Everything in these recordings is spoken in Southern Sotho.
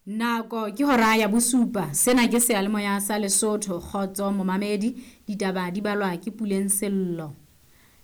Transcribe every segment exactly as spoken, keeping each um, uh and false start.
Nako ke hora ya bosupa. Sena ke seyalemoya sa Lesotho. Kgotso momamedi, ditaba di balwa ke Puleng Sello.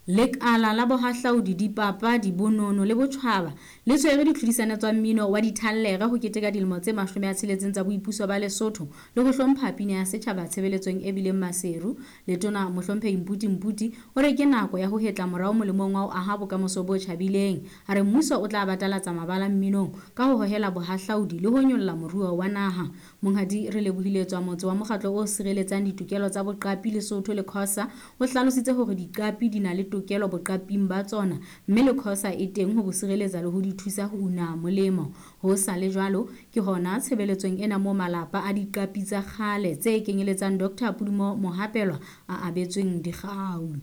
Lekala la bohahlaudi, dipapadi, bonono le botjhaba le tshwere ditlhodisano tsa mmino wa dithallere ho keteka dilemo tse mashome a tsheletseng tsa boipuso ba Lesotho le ho hlompha pina ya setjhaba tshebeletsong e bileng Maseru. Letona Mohlomphehi Mputi Mputi o re ke nako ya ho hetla morao molemong wa ho aha bokamoso bo tjhabileng. A re mmuso o tla batalatsa mabala mminong ka ho hohela bohahlaudi le ho nyolla moruo wa naha. Monghadi Relebohile Tswamotse wa mokgatlo o sireletsang ditokelo tsa boqapi Lesotho le Khosa o hlalositse hore diqapi di na le tokelo boqaping ba tsona mme le Khosa e teng ho bo sireletsa le ho di thusa ho una molemo. Ho sa le jwalo, ke hona tshebeletsong ena moo malapa a diqapi tsa kgale tse kenyeletsang Doctor Pudumo Mohapelwa a abetsweng dikgau.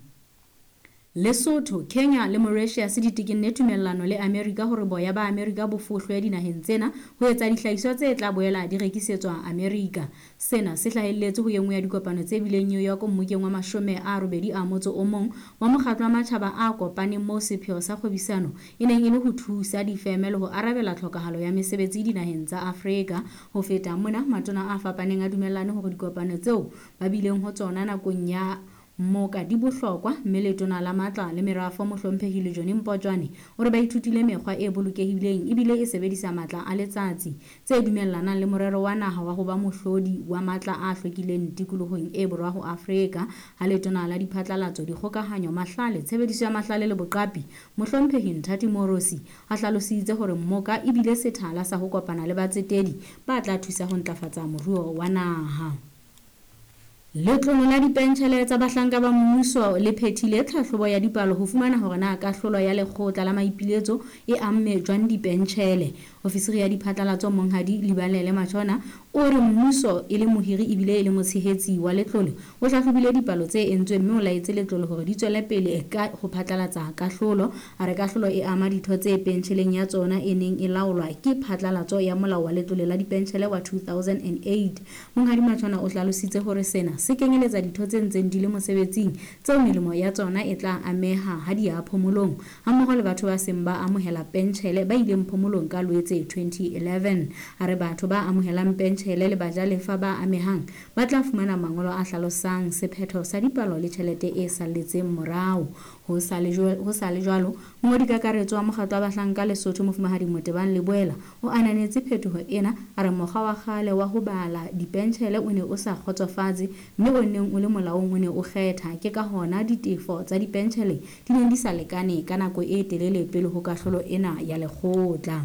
Lesotho, Kenya le Mauritius di tekenne tumellano le Amerika hore boya ba Amerika bo fohlwe dinaheng tsena ho etsa dihlahiswa tse tla boela di rekisetswa Amerika. Sena se hlahelletse ho e nngwe ya dikopano tse bileng New York mmokeng wa mashome a robedi a motso o mong wa mokgatlo wa matjhaba a kopaneng moo sepheo sa kgwebisano e neng e le ho thusa difeme le ho arabela tlhokahalo ya mesebetsi dinaheng tsa Afrika. Ho feta mona, matona a fapaneng a dumellane hore dikopano tseo ba bileng ho tsona nakong ya mmoka di bohlokwa, mme letona la matla le merafo Mohlomphehi Lejone Mpotjwane o re ba ithutile mekgwa e bolokehileng ebile e sebedisa matla a letsatsi tse dumellanang le morero wa naha wa ho ba mohlodi wa matla a hlwekileng tikolohong e borwa ho Afrika. Ha letona la diphatlalatso, dikgokahanyo, mahlale, tshebediso ya mahlale le boqapi Mohlomphehi Nthati Moorosi a hlalositse hore mmoka ebile sethala sa ho kopana le batsetedi ba tla thusa ho ntlafatsa moruo wa naha. Letlole la dipentjhele tsa bahlanka ba mmuso le phethile tlhahlobo ya dipalo ho fumana hore na kahlolo ya lekgotla la maipiletso e amme jwang dipentjhele. Ofisiri ya diphatlalatso Monghadi Libalele Matshona o re mmuso e le mohiri ebile e le motshehetsi wa letlole o hlahlobile dipalo tse entsweng mme o laetse letlole hore di tswele pele ka ho phatlalatsa kahlolo. A re kahlolo e ama ditho tse pentjheleng ya tsona e neng e laolwa ke phatlalatso ya molao wa letlole la dipentjhele wa two thousand eight. Monghadi Matshona o hlalositse hore sena se kenyeletsa ditho tse ntseng di le mosebetsing tseo melemo ya tsona e tla ameha ha di ya phomolong hammoho le batho ba seng ba amohela pentjhele ba ileng phomolong ka Loetse twenty eleven. A re batho ba amohelang pentjhele le bajalefa ba amehang ba tla fumana mangolo a hlalosang sephetho sa dipalo le tjhelete e salletseng morao. Ho sa le jwalo, mongodi kakaretso wa mokgatlo wa bahlanka Lesotho Mofumahadi Motebang Leboela o ananetse phetoho ena. A re mokgwa wa kgale wa ho bala dipentjhele o ne o sa kgotsofatse mme o neng o le molaong o ne o kgetha, ke ka hona ditefo tsa dipentjhele di neng di sa lekane ka nako e telele pele ho kahlolo ena ya lekgotla.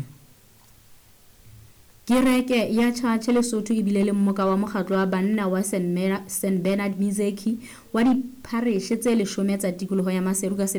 Kereke ya Tjhatjhe Lesotho ebile le mmoka wa mokgatlo wa banna wa Saint Bernard Mizeki wa diphareshe tse leshome tsa tikoloho ya Maseru ka sepheo